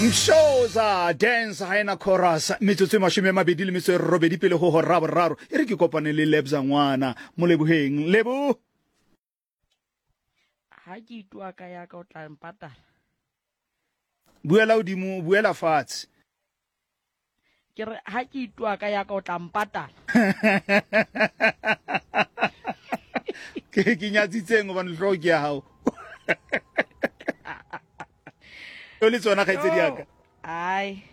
Mshoza Dance Hyena Chorus, metsotso e 28 pele go hora boraro. E re ke kopane le Lebza ngwana Moleboheng. Lebo! Ha ke itoa ka ya ka o tla mpatala. Buela hodimo, buela fatshe. Ke re ha ke itoa ka ya ka o tla mpatala. Ke ke nyatsitseng hobane hlooho ke ya hao. O le tsona kgaitsedi ya ka. Ai.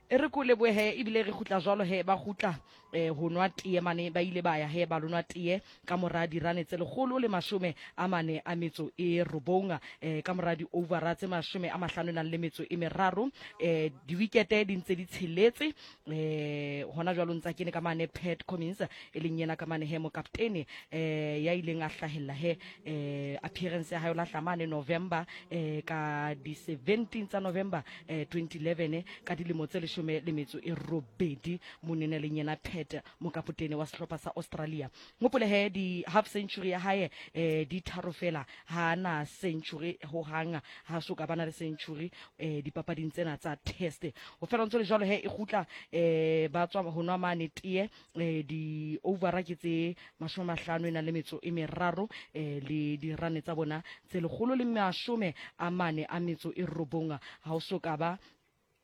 E re ko lebohe ebile re kgutla jwalo he ba kgutla eh, ho nwa tee mane ba ile ba ya he ba lo nwa tee ka mora dirane tse 149 eh, ka mora di-overa tse 53 eh, diwikete di ntse di tsheletse eh, hona jwalo ntsa kene ka mane Pat Cummins e leng yena ka mane he mokaptene eh, ya ileng a hlahella he eh, appearance ya hae o lahla mane November eh, ka di 17 tsa November eh, 2011 ka dilemo tse 18 monene leng yena Pat mokapotene wa sehlopha sa Australia. Ngopole he di half century ya hae eh, di tharo fela, ha na century ho hang, ha so ka bana le century eh, dipapading tsena tsa test. Ho fela ntse le jwalo he e kgutla eh, ba tswa ho nwa mane tee eh, di overa ke tse 53 eh, le dirane tsa bona tse 149, ha o so ka ba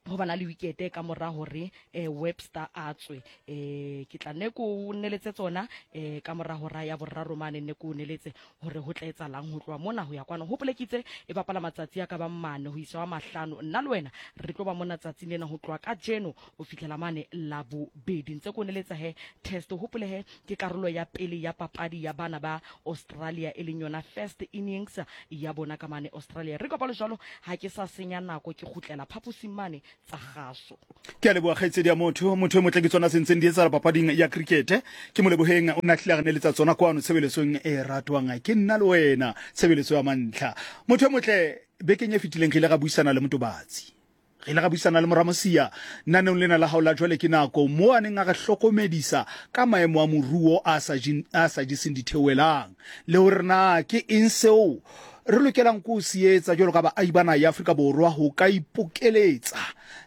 go bana le wikete ka mora hore eh, Webster a tswe. Eh, ke tla ne ko neletse tsona eh, ka mora hora ya boraro mane ne ko neletse hore ho tla etsalang ho tloha mona ho ya kwana. Hopolekitse e bapala matsatsi a ka bang mane ho isa wa mahlano. Nna le wena re tlo ba mona tsatsing lena ho tloha kajeno ho fihlela mane la bobedi. Ntse ko neletsa he test. Hopole he ke karolo ya pele ya papadi ya bana ba Australia e leng yona first innings ya bona ka mane Australia. Re kopalo jwalo ha ke sa senya nako ke kgutlela phaposing mane tsa kgaso. Ke a leboha kgaitsedi ya motho. Motho e motle ke tsona tse ntseng di etsahala papading ya krikete. Ke Moleboheng o ne a hlile a re neletsa tsona kwano tshebeletsong e ratwang ke nna le wena, tshebeletso ya mantlha. Motho e motle, bekeng e fetileng re ile ra buisana le Motobatsi. Re ile ra buisana le Moramosia naneong lena la hao la Jwale ke Nako, moo a neng a re hlokomedisa ka maemo a moruo a sa a sa jeseng ditheohelang, le hore na ke eng seo re lokelang ke ho se etsa jwalo ka baahi ba naha ya Afrika Borwa ho ka ipokeletsa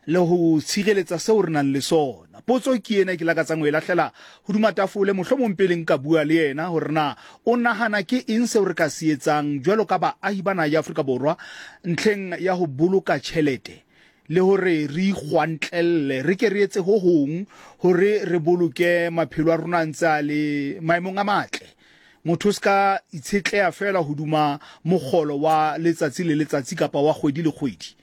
le ho tshireletsa seo re nang le sona. Potso ke ena e ke lakatsang ho e lahlela hodima tafole, mohlomong pele nka bua le yena hore na o nahana ke eng seo re ka se etsang jwalo ka baahi ba naha ya Afrika Borwa ntlheng ya ho boloka tjhelete le hore re ikgwantlelle, re ke re etse ho hong hore re boloke maphelo a rona a ntse a le maemong a matle. Motho o se ka itshetleha feela hoduma mokgolo wa letsatsi le letsatsi kapa wa kgwedi le kgwedi.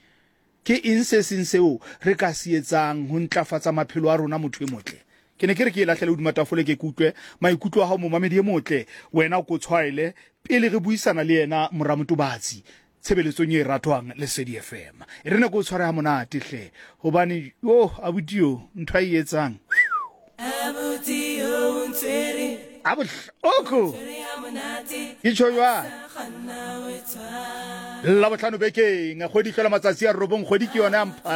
Ke eng se seng seo re ka se etsang ho ntlafatsa maphelo a rona, motho e motle? Ke ne ke re ke e lahlele hodima tafole ke ke utlwe maikutlo a hao, momamedi e motle. Wena o ko tshwaele pele re buisana le yena, mora Motobatsi, tshebeletsong e ratwang Lesedi FM. E re ne ke o tshware ha monate hle, hobane, yo, abuti yo, ntho a e etsang. Abuti yo o ntshwere. A bohloko. Ke tjho jwang? Labohlano bekeng, kgwedi e hlola matsatsi a robong, kgwedi ke yona ya Mphala.